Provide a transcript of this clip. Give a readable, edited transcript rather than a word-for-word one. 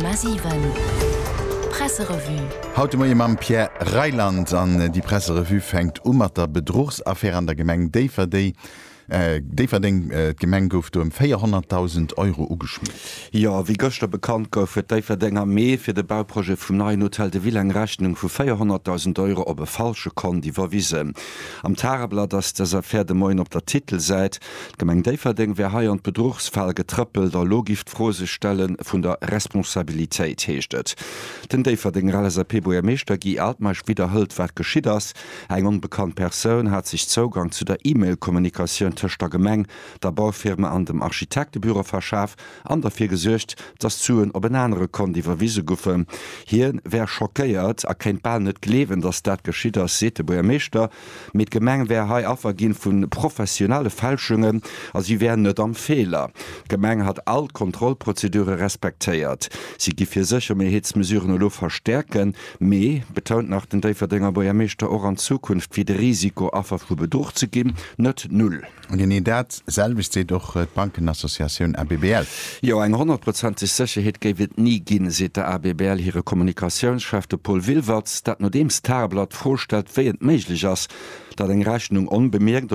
100,7 Presserevue. Haut de Moie mam Pierre Reyland. An déi Presserevue fänkt u mat der Bedruchsaffär an der Gemeng Déifferdeng. Déifferdeng, D'Gemeng gouf do ëm 400.000 Euro ugeschmiert. Jo, wéi gëschter bekannt gouf, huet Déifferdeng am Mee fir de Bauprojet vum neien Hotel de Ville eng Rechnung vu 400.000 Euro op e falsche Kont iwwerwisen. Am Tageblatt ass dës Affär de Moien op der Titelsäit. D'Gemeng Déifferdeng wär hei an d'Bedruchsfal getrëppelt a lo giff d'Fro sech stelle vun der Responsabilitéit, heescht et. Den Déifferdenger LSAP-Buergermeeschter Guy Altmeisch widderhëlt, wat geschitt ass. Eng onbekannt Persoun hat sech Zougang zu der E-Mail-Kommunikatioun tëscht der Gemeng, der Baufirma an dem Architektebüro verschaf an derfir gesuergt, datt d'Suen op en anere Kont iwwerwise goufen. Hie wär schockéiert a kéint bal net gleewen, datt dat geschitt ass, seet de Buergermeeschter. Mee d'Gemeng wär hei Affer ginn vu professionelle Fälschungen a si wär net am Feeler. D'Gemeng hat all d'Kontrollprozedure respektéiert. Si giff hir Séchermeheetsmesuren elo verstäerken, mee, betount nach den Déifferdenger Buergermeeschter, och an Zukunft wier de Risiko, Affer vu Bedruch ze ginn, net null. An genee dat selwecht seet och d'Bankenassociatioun ABBL. Jo, eng honnertprozenteg Sécherheet géif et ni ginn, seet der ABBL hire Kommunikatiounschef, de Paul Wilwertz. Dat nodeems d'Tageblatt d'Fro stellt, wéi et méiglech ass, datt eng Rechnung onbemierkt.